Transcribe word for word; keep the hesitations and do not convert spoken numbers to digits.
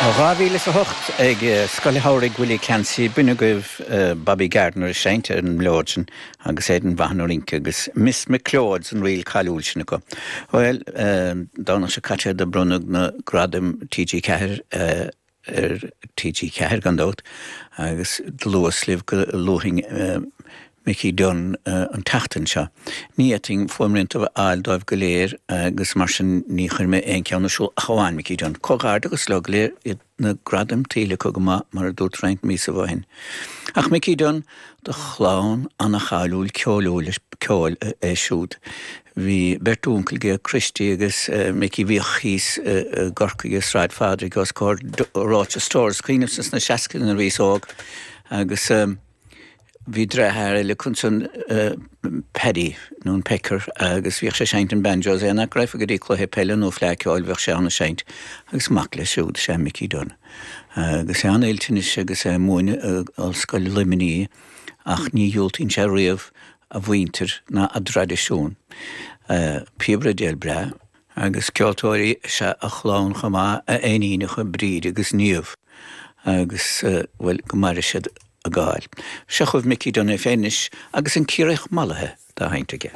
Dhá mhíle is a hocht ag Scoil Shamhraidh Willie Clancy b'in agaibh Bobby Gardiner ag seinnt ar an mblióid sin agus Aidan Vaughan ag rince agus Miss McLeod's an ríl cáiliúil sin acu. Bhuel, Domhnach seo caite do bronnadh na gradaim TG Ceathair ar TG Ceathair gan dabht agus do luas libh go luafainn Mickey Dunne an tseachtain seo. Ní fhéadfainn fuaimrianta a fháil dóibh go léir agus mar sin ní chuir mé aon cheann ar siúl ach amháin Mickey Dunne. Comhghairdeachas leo go léir iad na gradaim tuillte acu go maith mar a dúirt roinnt míosa ó shin. Ach Mickey Dunne de chlann an-cháiliúil ceoiliúil ceoil é siúd. Bhí beirt uncail aige Christy agus Mickey bhíodh thíos i gCorcaigh i Sráid Phádraig os comhair Roche Stores cuimhním sna seascaidí nuair a bhíos óg agus bhí deartháir eile acu ansan Paddy nó an Pecker agus bhíodh sé ag seinnt an banjos é nach raibh go dtí cluiche peile nó fleadh ceoil bhíodh sé ann ag seinnt agus mac leis siúd is ea Mickey Dunne. Agus é an-oilte anois agus é ag múineadh i Ollscoil Luimnigh ach ní dhiúltaíonn sé riamh a mhuintir ná a dtraidisiún. Píobaire béil breá agus ceoltóirí is ea a chlann chomh maith, a iníonacha Bríd agus Niamh agus bhuel go maire siad a gcáil. Seo chugaibh Mickey Dunne é féin anois agus an Ciarraíoch Mallaithe dá sheinnt aige.